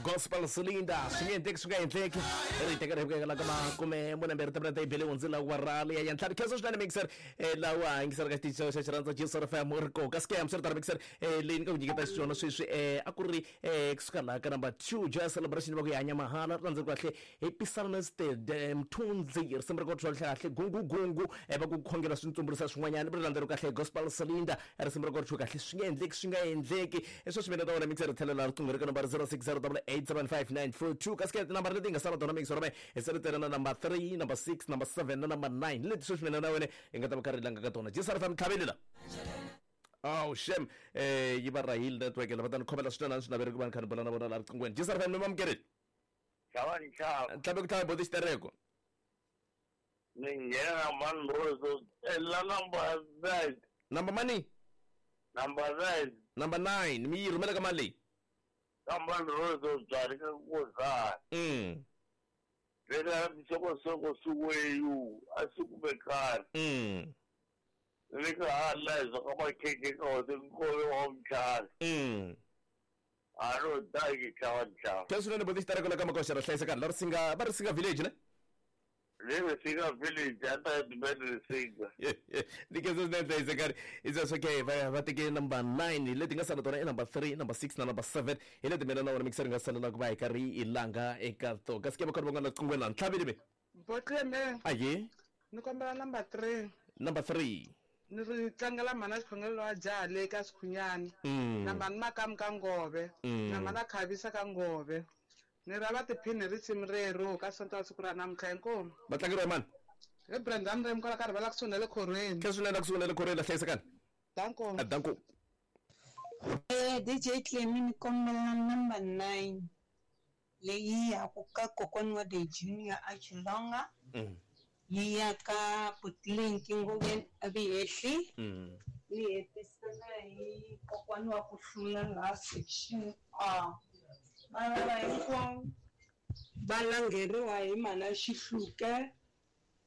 Gospel Cylinder swi nge endleki, swi nga endleki. Ri teka ri la ka makume mune mbirhi timinete yi bele hundzile awara leya ya ntlhanu. Khensa swinene mixer lawa yingisela ka xitichi xa xirhandza Jesus FM u ri ko ka scam swi ri tano mixer leyi ni nga ku nyiketa xiswona sweswi a ku ri kusuka laha ka number 2 Joy Celebration va ku yi hanya mahala ri landzeri kahle hi Psalmist Mthunzi risimu ri ko twa kahle gungu gungu va ku khongela swi ntsumburisa swin'wanyana ri landzeri kahle hi Gospel Cylinder risimu ri ko twa kahle swi nga endleki swi nga endleki sweswi mina ta wena mixer ri tlhelela riqingho ri ka nomboro 0608875942 kasi ke tinambara leti hi nga sala tona mixer me hi se ri tere na number 3, number 6, number 7 na number 9 leti sweswi mina na wena hi nga ta va karhi hi langa ka tona. Jesus FM tlhaveli la. Oh shem yi va rahile network lava ta ni khomela swinene a ni swi naveri ku va ni kha ni bula na vona laha riqinghweni. Jesus FM ni mamukerile. Xava ni xava. Ntlhambe ku tlhava boti xitereko. Ni nghena na mani Rose la number 9. Number mani? Number 9. Number 9 mi yi rhumela ka mali leyi? Ka mani Rose byari ka ku za. Veka soko suweyu a swi kumekani. Ni ka hala hi swa ka makhekhe ka hosi nkove wa mtlhari. A no daki tlhava ntlhava. Khensa swinene boti xitereko la ka makoxa ra hlayisekani la Risinga va Risinga village ne? Le Risinga village a ta dibet Risinga. Ni khensa swinene hlayisekani. It's okay va teke number 9 leti nga sala tona i number 3, number 6 na number 7 hi leti mina na wena mixer nga salela ku va hi karhi hi langa eka to. Kasi ke va kona van'wana riqinghweni la ntlhaveli me. Botleme. Aye. Ni kombela number 3. Number 3. Ni ri tlangela mhana xikhongelo wa jaha le ka Sikhunyani. Na mhani Makamu ka Ngove. Na mhana Khavisa ka Ngove. Ni ra va tiphini hi risimu rero ka Sonto wa siku ra namuntlha inkomu. Va tlangeriwa hi mani? Hi Brendan Rem kwala ka rivala kusuhi na le khorweni. Khensa swinene kusuhi na le khorweni la hlayisekani. Danko. Danko. DJ Clemy ni kombela number 9 leyi ya ku ka kokwani wa the Junior a Chilonga. Yi ya ka Putlinki Ngobeni a Vihehli. Ni hetisela hi kokwani wa ku hlula laha section A. Vana va hinkwavo va langheriwa hi mhana Xihluke.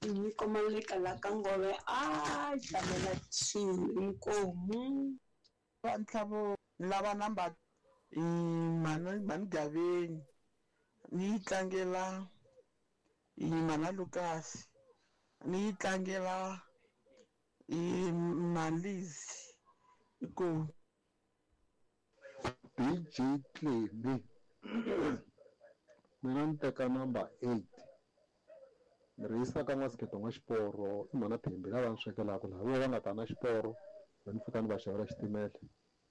Nyiko Maleka la ka Ngove a tlamela 2 inkomu. Va ntlhavo lava number i mhani mhani Gaveni ni yi tlangela i mhana Lucas ni yi tlangela i Malizi inkomu. DJ Clemy mina ni teka number 8 ni ri yisa ka n'wasikheto n'wa xiporo i mhana Thembi lava ni swekelaka laha vo va nga ta na xiporo ni fika ni va xavela xitimela.